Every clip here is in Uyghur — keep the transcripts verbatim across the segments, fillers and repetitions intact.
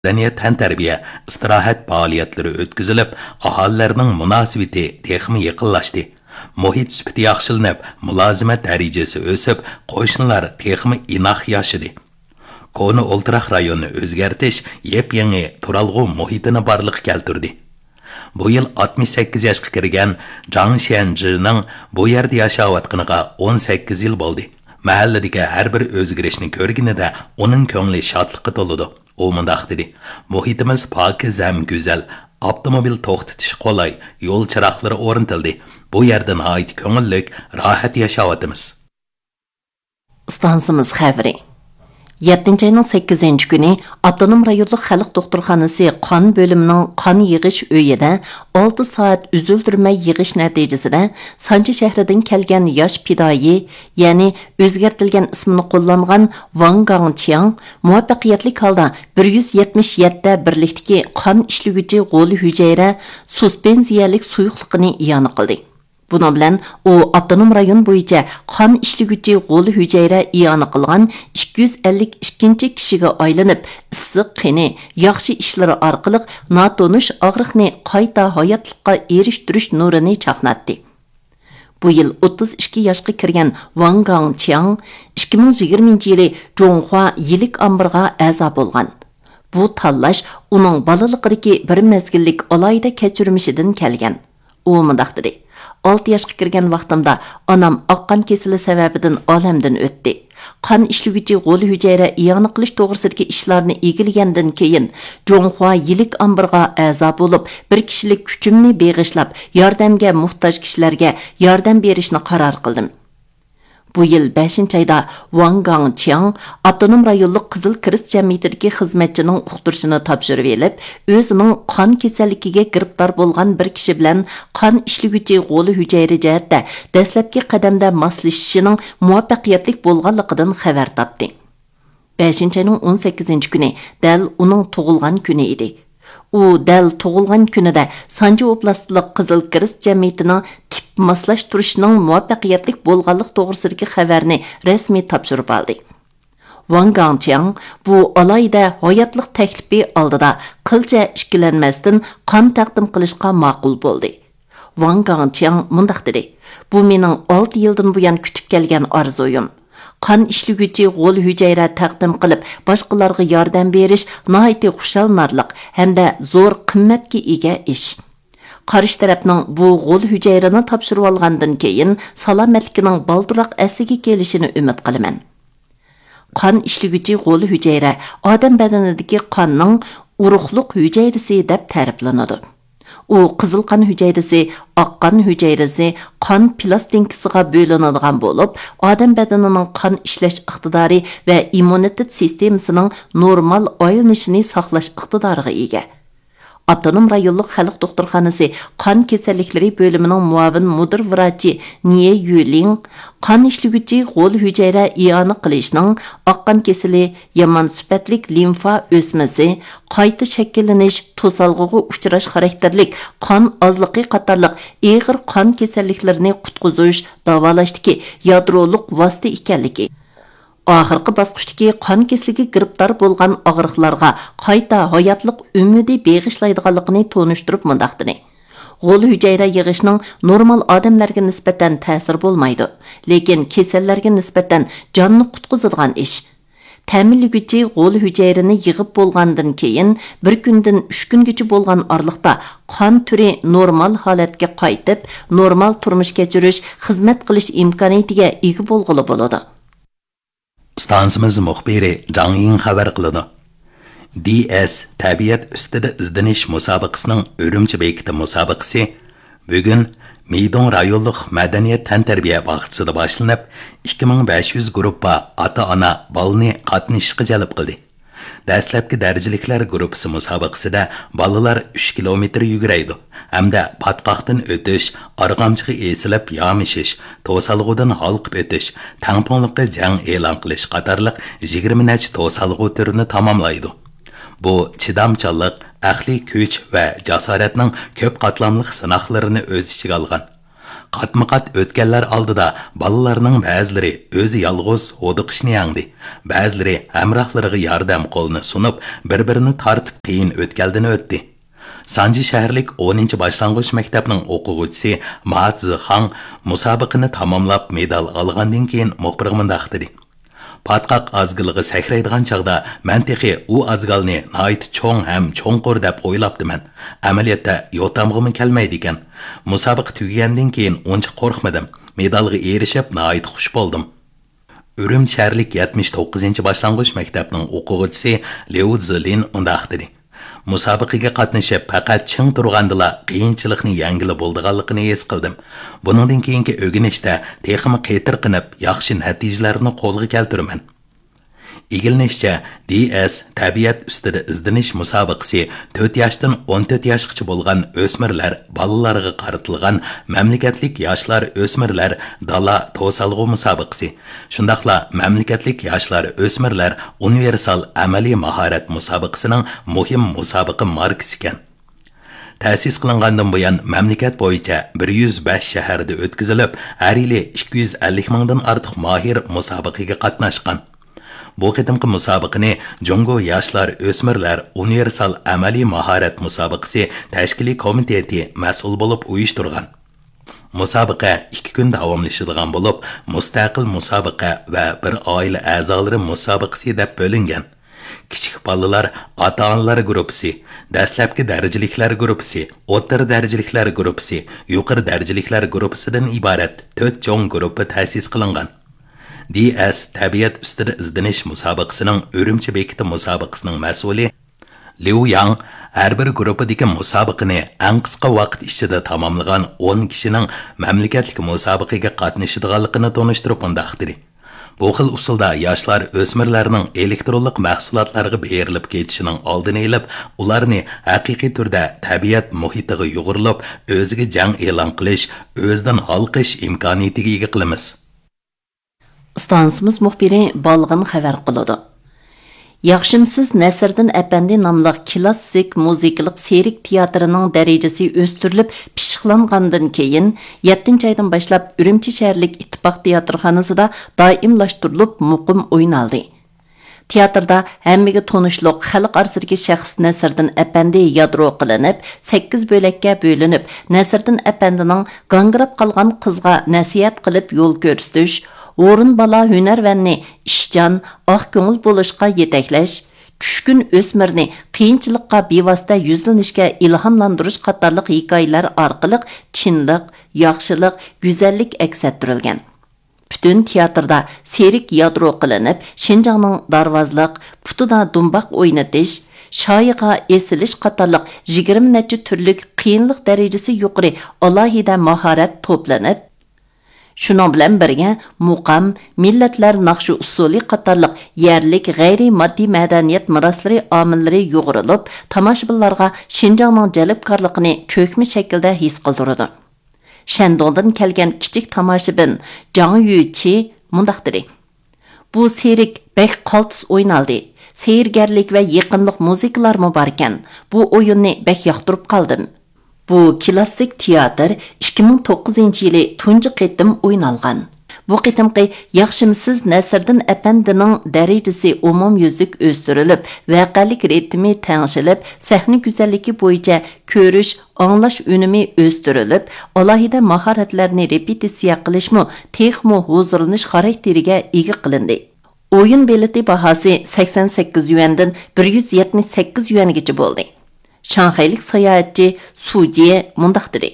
مەدەنىيەت، تەنتەربىيە، ئىستىراھەت پائالىيەتلىرى ئۆتكۈزۈلۈپ، ئاھالىلەرنىڭ مۇناسىۋىتى تېخىمۇ يېقىنلاشتى. مۇھىت سۈپىتى ياخشىلىنىپ، مۇلازىمەت دەرىجىسى ئۆسۈپ، قوشنىلار تېخىمۇ ئىناق ياشىدى. كونا ئولتۇراق رايوننى ئۆزگەرتىش يېپيېڭى تۇرالغۇ مۇھىتىنى بارلىققا كەلتۈردى. بۇ يىل ئاتمىش سەككىز ياشقا كىرگەن جاڭ شيەنجىنىڭ بۇ يەردە ياشاۋاتقىنىغا ئون سەككىز يىل بولدى. مەھەللىدىكى ھەر بىر ئۆزگىرىشنى كۆرگىنىدە ئۇنىڭ كۆڭلى شادلىققا تولىدۇ. ئۇ مۇنداق دېدى: «مۇھىتىمىز پاكىز ھەم گۈزەل، ئاپتوموبىل توختىتىش قولاي، يول چىراغلىرى ئورنىتىلدى. بۇ يەردە ناھايىتى كۆڭۈللۈك، راھەت ياشاۋاتىمىز.» ئىستانسىمىز خەۋىرى. يەتتىنچى ئاينىڭ سەككىزىنچى كۈنى ئاپتونوم رايونلۇق خەلق دوختۇرخانىسى قان بۆلۈمىنىڭ قان يىغىش ئۆيىدە ئالتە سائەت ئۈزۈلدۈرمەي يىغىش نەتىجىسىدە، سانجى شەھىرىدىن كەلگەن ياش پىدائىي، يەنى ئۆزگەرتىلگەن ئىسمىنى قوللانغان ۋاڭ گاڭچياڭ مۇۋەپپەقىيەتلىك ھالدا بىر يۈز يەتمىش يەتتە بىرلىكتىكى قان ئىشلىگۈچى غول ھۈجەيرە سۇسپېنزىيەلىك سۇيۇقلۇقىنى ئىئانە قىلدى. بۇنىڭ بىلەن ئۇ ئاپتونوم رايون بويىچە قان ئىشلىگۈچى غول ھۈجەيرە ئىئانە قىلغان ئىككى يۈز ئەللىك ئىككىنچى كىشىگە ئايلىنىپ، ئىسسىق قېنى، ياخشى ئىشلىرى ئارقىلىق ناتونۇش ئاغرىقنى قايتا ھاياتلىققا ئېرىشتۈرۈش نۇرىنى چاقناتتى. بۇ يىل ئوتتۇز ئىككى ياشقا كىرگەن ۋاڭ گاڭچياڭ ئىككى مىڭ يىگىرمىنچى يىلى جۇڭخۇا يىلىك ئامبىرىغا ئەزا بولغان. بۇ تاللاش ئۇنىڭ بالىلىقىدىكى بىر مەزگىللىك ئالاھىدە كەچۈرمىشىدىن كەلگەن. ئۇ مۇنداق دېدى: «ئالتە ياشقا كىرگەن ۋاقتىمدا ئانام ئاق قان كېسىلى سەۋەبىدىن ئالەمدىن ئۆتتى. قان ئىشلىگۈچى غول ھۈجەيرە ئىئانە قىلىش توغرىسىدىكى ئىشلارنى ئىگىلىگەندىن كېيىن، جۇڭخۇا يىلىك ئامبىرىغا ئەزا بولۇپ، بىر كىشىلىك كۈچۈمنى بېغىشلاپ، ياردەمگە موھتاج كىشىلەرگە ياردەم بېرىشنى قارار قىلدىم.» بۇ يىل بەشىنچى ئايدا ۋاڭ گاڭچياڭ ئاپتونوم رايونلۇق قىزىل كىرېست جەمئىيىتىدىكى خىزمەتچىنىڭ ئۇقتۇرۇشىنى تاپشۇرۇۋېلىپ، ئۆزىنىڭ قان كېسەللىكىگە گىرىپتار بولغان بىر كىشى بىلەن قان ئىشلىگۈچى غول ھۈجەيرە جەھەتتە دەسلەپكى قەدەمدە ماسلىشىشىنىڭ مۇۋەپپەقىيەتلىك بولغانلىقىدىن خەۋەر تاپتى. بەشىنچى ئاينىڭ ئون سەككىزىنچى كۈنى دەل ئۇنىڭ تۇغۇلغان كۈنى ئىدى. ئۇ دەل تۇغۇلغان كۈنىدە سانجى ئوبلاستلىق قىزىل كىرېست جەمئىيىتىنىڭ تىپ ماسلاشتۇرۇشنىڭ مۇۋەپپەقىيەتلىك بولغانلىقى توغرىسىدىكى خەۋەرنى رەسمىي تاپشۇرۇپ ئالدى. ۋاڭ گاڭچياڭ بۇ ئالاھىدە ھاياتلىق تەكلىپى ئالدىدا قىلچە ئىككىلەنمەستىن قان تەقدىم قىلىشقا ماقۇل بولدى. ۋاڭ گاڭچياڭ مۇنداق دېدى: «بۇ مېنىڭ ئالتە يىلدىن بۇيان كۈتۈپ كەلگەن ئارزۇيۇم. قان ئىشلىگۈچى غول ھۈجەيرە تەقدىم قىلىپ، باشقىلارغا ياردەم بېرىش ناھايىتى خۇشاللىنارلىق ھەمدە زور قىممەتكە ئىگە ئىش. قارشى تەرەپنىڭ بۇ غول ھۈجەيرىنى تاپشۇرۇۋالغاندىن كېيىن سالامەتلىكىنىڭ بالدۇرراق ئەسلىگە كېلىشىنى ئۈمىد قىلىمەن.» قان ئىشلىگۈچى غول ھۈجەيرە ئادەم بەدىنىدىكى قاننىڭ ئۇرۇقلۇق ھۈجەيرىسى دەپ تەرىپلىنىدۇ. ئۇ قىزىل قان ھۈجەيرىسى، ئاق قان ھۈجەيرىسى، قان پىلاستىنكىسىغا بۆلۈنىدىغان بولۇپ، ئادەم بەدىنىنىڭ قان ئىشلەش ئىقتىدارى ۋە ئىممۇنىتېت سىستېمىسىنىڭ نورمال ئايلىنىشىنى ساقلاش ئىقتىدارىغا ئىگە. ئاپتونوم رايونلۇق خەلق دوختۇرخانىسى قان كېسەللىكلىرى بۆلۈمىنىڭ مۇئاۋىن مۇدىر ۋراچى نىيې يۈلىڭ قان ئىشلىگۈچى غول ھۈجەيرە ئىئانە قىلىشنىڭ ئاق قان كېسىلى، يامان سۈپەتلىك لىمفا ئۆسمىسى، قايتا شەكىللىنىش، توسالغۇغا ئۇچراش خاراكتېرلىك قان ئازلىقى قاتارلىق ئېغىر قان كېسەللىكلىرىنى قۇتقۇزۇش، داۋالاشتىكى يادرولۇق ۋاسىتە ئىكەنلىكى، ئاخىرقى باسقۇچتىكى قان كېسىلىگە گىرىپتار بولغان ئاغرىقلارغا قايتا ھاياتلىق ئۈمىدى بېغىشلايدىغانلىقىنى تونۇشتۇرۇپ مۇنداق دېدى: «غول ھۈجەيرە يىغىشنىڭ نورمال ئادەملەرگە نىسبەتەن تەسىرى بولمايدۇ، لېكىن كېسەللەرگە نىسبەتەن جاننى قۇتقۇزىدىغان ئىش. تەمىنلىگۈچى غول ھۈجەيرىنى يىغىپ بولغاندىن كېيىن، بىر كۈندىن ئۈچ كۈنگىچە بولغان ئارىلىقتا قان تۈرى نورمال ھالەتكە قايتىپ، نورمال تۇرمۇش كەچۈرۈش، خىزمەت قىلىش ئىمكانىيىتىگە ئىگە بولغىلى بولىدۇ.» ئىستانسىمىز مۇخبىرى جاڭ يىڭ خەۋەر قىلىدۇ. دى ئەس تەبىئەت ئۈستىدە ئىزدىنىش مۇسابىقىسىنىڭ ئۈرۈمچى بېكىتى مۇسابىقىسى بۈگۈن مىدۇڭ رايونلۇق مەدەنىيەت تەنتەربىيە باغچىسىدا باشلىنىپ، ئىككى مىڭ بەش يۈز گۇرۇپپا ئاتا-ئانا بالىنى قاتنىشىشقا جەلپ قىلدى. دەسلەپكى دەرىجىلىكلەر گۇرۇپپىسى مۇسابىقىسىدە بالىلار ئۈچ كىلومېتىر يۈگۈرەيدۇ ھەمدە پاتقاقتىن ئۆتۈش، ئارغامچىغا ئېسىلىپ يامىشىش، توسالغۇدىن ھالقىپ ئۆتۈش، تەڭپۇڭلۇققا جەڭ ئېلان قىلىش قاتارلىق يىگىرمە نەچچە توسالغۇ تۈرىنى تاماملايدۇ. بۇ چىدامچانلىق، ئەقلىي كۈچ ۋە جاسارەتنىڭ كۆپ قاتلاملىق سىناقلىرىنى ئۆز ئىچىگە ئالغان. قاتمۇقات ئۆتكەللەر ئالدىدا بالىلارنىڭ بەزىلىرى ئۆزى يالغۇز ھودۇقۇشنى يەڭدى، بەزىلىرى ھەمراھلىرىغا ياردەم قولىنى سۇنۇپ، بىر-بىرىنى تارتىپ قىيىن ئۆتكەلدىن ئۆتتى. سانجى شەھەرلىك ئونىنچى باشلانغۇچ مەكتەپنىڭ ئوقۇغۇچىسى ما زىخاڭ مۇسابىقىنى تاماملاپ مېدال ئالغاندىن كېيىن مۇخبىرغا مۇنداق دېدى: پاتقاق ئازگىلىغا سەكرەيدىغان چاغدا مەن تېخى ئۇ ئازگالنى ناھايىتى چوڭ ھەم چوڭقۇر دەپ ئويلاپتىمەن. ئەمەلىيەتتە يوتامغىمۇ كەلمەيدىكەن. مۇسابىقە تۈگىگەندىن كېيىن ئۇنچە قورقمىدىم. مېدالغا ئېرىشىپ ناھايىتى خۇش بولدۇم. ئۈرۈمچى شەھەرلىك يەتمىش توققۇزىنچى باشلانغۇچ مەكتەپنىڭ ئوقۇغۇچىسى ليۇ زىلىن مۇنداق دېدى: مۇسابىقىگە قاتنىشىپ، پەقەت چىڭ تۇرغاندىلا قىيىنچىلىقنى يەڭگىلى بولىدىغانلىقىنى ھېس قىلدىم. بۇنىڭدىن كېيىنكى ئۆگىنىشتە تېخىمۇ قېتىرقىنىپ، ياخشى نەتىجىلەرنى قولغا كەلتۈرىمەن. ئىگىلىنىشىچە، دى ئەس تەبىئەت ئۈستىدە ئىزدىنىش مۇسابىقىسى تۆت ياشتىن ئون تۆت ياشقىچە بولغان ئۆسمۈرلەر، بالىلارغا قارىتىلغان مەملىكەتلىك ياشلار ئۆسمۈرلەر دالا توسالغۇ مۇسابىقىسى، شۇنداقلا مەملىكەتلىك ياشلار ئۆسمۈرلەر ئۇنىۋېرسال ئەمەلىي ماھارەت مۇسابىقىسىنىڭ مۇھىم مۇسابىقە ماركىسى ئىكەن. تەسىس قىلىنغاندىن بۇيان، مەملىكەت بويىچە بىر يۈز بەش شەھەردە ئۆتكۈزۈلۈپ، ھەر يىلى ئىككى يۈز ئەللىك مىڭدىن ئارتۇق ماھىر مۇسابىقىگە قاتناشقان. بۇ قېتىمقى مۇسابىقىنى جۇڭگو ياشلار ئۆسمۈرلەر ئۇنىۋېرسال ئەمەلىي ماھارەت مۇسابىقىسى تەشكىلىي كومىتېتى مەسئۇل بولۇپ ئۇيۇشتۇرغان. مۇسابىقە ئىككى كۈن داۋاملىشىدىغان بولۇپ، مۇستەقىل مۇسابىقە ۋە بىر ئائىلە ئەزالىرى مۇسابىقىسى دەپ بۆلۈنگەن. كىچىك بالىلار ئاتا-ئانىلار گۇرۇپپىسى، دەسلەپكى دەرىجىلىكلەر گۇرۇپپىسى، ئوتتۇرا دەرىجىلىكلەر گۇرۇپپىسى، يۇقىرى دەرىجىلىكلەر گۇرۇپپىسىدىن ئىبارەت تۆت چوڭ گۇرۇپپا تەسىس قىلىنغان. دى ئەس تەبىئەت ئۈستىدە ئىزدىنىش مۇسابىقىسىنىڭ ئۈرۈمچى بېكىتى مۇسابىقىسىنىڭ مەسئۇلى ليۇ ياڭ ھەر بىر گۇرۇپپىدىكى مۇسابىقىنى ئەڭ قىسقا ۋاقىت ئىچىدە تاماملىغان ئون كىشىنىڭ مەملىكەتلىك مۇسابىقىگە قاتنىشىدىغانلىقىنى تونۇشتۇرۇپ مۇنداق دېدى: بۇ خىل ئۇسۇلدا ياشلار ئۆسمۈرلەرنىڭ ئېلېكترونلۇق مەھسۇلاتلارغا بېرىلىپ كېتىشىنىڭ ئالدىنى ئېلىپ، ئۇلارنى ھەقىقىي تۈردە تەبىئەت مۇھىتىغا يۇغۇرۇلۇپ، ئۆزىگە جەڭ ئېلان قىلىش، ئۆزىدىن ھالقىش ئىمكانىيىتىگە ئىگە قىلىمىز. ئىستانسىمىز مۇخبىرى بالغىن خەۋەر قىلىدۇ. ياخشىمسىز نەسىردىن ئەپەندى ناملىق كىلاسسىك مۇزىكىلىق سېرك تىياتىرىنىڭ دەرىجىسى ئۆستۈرۈلۈپ پىششىقلانغاندىن كېيىن، يەتتىنچى ئايدىن باشلاپ ئۈرۈمچى شەھەرلىك ئىتتىپاق تىياتىرخانىسىدا دائىملاشتۇرۇلۇپ مۇقىم ئوينالدى. تىياتىردا ھەممىگە تونۇشلۇق خەلق ئارىسىدىكى شەخس نەسىردىن ئەپەندى يادرو قىلىنىپ، سەككىز بۆلەككە بۆلۈنۈپ، نەسىردىن ئەپەندىنىڭ گاڭگىراپ قالغان قىزغا نەسىھەت قىلىپ يول كۆرسىتىش، ھورۇن بالا ھۈنەرۋەننى ئىشچان، ئاق كۆڭۈل بولۇشقا يېتەكلەش، چۈشكۈن ئۆسمۈرنى قىيىنچىلىققا بىۋاسىتە يۈزلىنىشكە ئىلھاملاندۇرۇش قاتارلىق ھېكايىلەر ئارقىلىق چىنلىق، ياخشىلىق، گۈزەللىك ئەكس ئەتتۈرۈلگەن. پۈتۈن تىياتىردا سېرك يادرو قىلىنىپ، شىنجاڭنىڭ دارۋازلىق، پۇتىدا دۇمباق ئوينىتىش، شايىغا ئېسىلىش قاتارلىق يىگىرمە نەچچە تۈرلۈك قىيىنلىق دەرىجىسى يۇقىرى ئالاھىدە ماھارەت توپلىنىپ، شۇنىڭ بىلەن بىرگە، مۇقام، مىللەتلەر ناخشا ئۇسسۇلى قاتارلىق يەرلىك غەيرىي ماددىي مەدەنىيەت مىراسلىرى ئامىللىرى يۇغۇرۇلۇپ، تاماشىبىنلارغا شىنجاڭنىڭ جەلپكارلىقىنى چۆكمە شەكىلدە ھېس قىلدۇرىدۇ. شەندۇڭدىن كەلگەن كىچىك تاماشىبىن جاڭ يۈچى مۇنداق دېدى: بۇ سېرك بەك قالتىس ئوينالدى. سېھىرگەرلىك ۋە يېقىملىق مۇزىكىلارمۇ باركەن. بۇ ئويۇننى بەك ياقتۇرۇپ قالدىم. بۇ كىلاسسىك تىياتىر ئىككى مىڭ توققۇزىنچى يىلى تۇنجى قېتىم ئوينالغان. بۇ قېتىمقى ياخشىمسىز نەسىردىن ئەپەندىنىڭ دەرىجىسى ئومۇميۈزلۈك ئۆستۈرۈلۈپ، ۋەقەلىك رىتىمى تەڭشىلىپ، سەھنە گۈزەللىكى بويىچە كۆرۈش، ئاڭلاش ئۈنۈمى ئۆستۈرۈلۈپ، ئالاھىدە ماھارەتلەرنى رېپېتىتسىيە قىلىشمۇ تېخىمۇ ھۇزۇرلىنىش خاراكتېرىگە ئىگە قىلىندى. ئويۇن بېلىتى باھاسى سەكسەن سەككىز يۈەندىن بىر يۈز يەتمىش سەككىز يۈەنگىچە بولدى. شاڭخەيلىك ساياھەتچى سۇ جيې مۇنداق دېدى: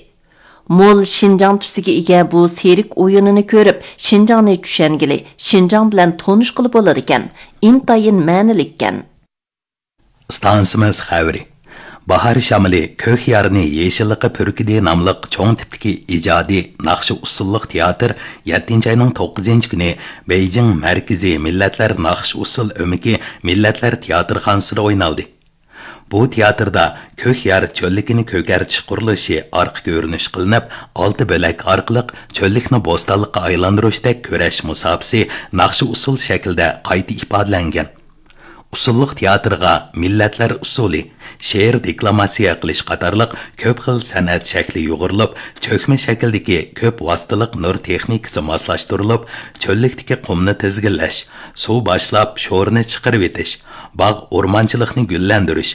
مول شىنجاڭ تۈسىگە ئىگە بۇ سېرك ئويۇنىنى كۆرۈپ، شىنجاڭنى چۈشەنگىلى، شىنجاڭ بىلەن تونۇشقىلى بولىدىكەن، ئىنتايىن مەنىلىككەن. ئىستانسىمىز خەۋىرى. باھار شامىلى كۆك يارنى يېشىللىققا پۈركىدى ناملىق چوڭ تىپتىكى ئىجادىي ناخشا ئۇسسۇللۇق تىياتىر يەتتىنچى ئاينىڭ توققۇزىنچى كۈنى بېيجىڭ مەركىزىي مىللەتلەر ناخشا ئۇسسۇل ئۆمىكى مىللەتلەر تىياتىرخانىسىدا ئوينالدى. بۇ تىياتىردا كۆك يار چۆللۈكىنى كۆكەرتىش قۇرۇلۇشى ئارقا كۆرۈنۈش قىلىنىپ، ئالتە بۆلەك ئارقىلىق چۆللۈكنى بوستانلىققا ئايلاندۇرۇشتەك كۈرەش مۇساپىسى ناخشا ئۇسسۇل شەكلىدە قايتا ئىپادىلەنگەن. ئۇسسۇللۇق تىياتىرغا مىللەتلەر ئۇسسۇلى، شېئىر دېكلاماتسىيە قىلىش قاتارلىق كۆپ خىل سەنئەت شەكلى يۇغۇرۇلۇپ، چۆكمە شەكىلدىكى كۆپ ۋاسىتىلىق نۇر تېخنىكىسى ماسلاشتۇرۇلۇپ، چۆللۈكتىكى قۇمنى تىزگىنلەش، سۇ باشلاپ شورىنى چىقىرىۋېتىش، باغ ئورمانچىلىقنى گۈللەندۈرۈش،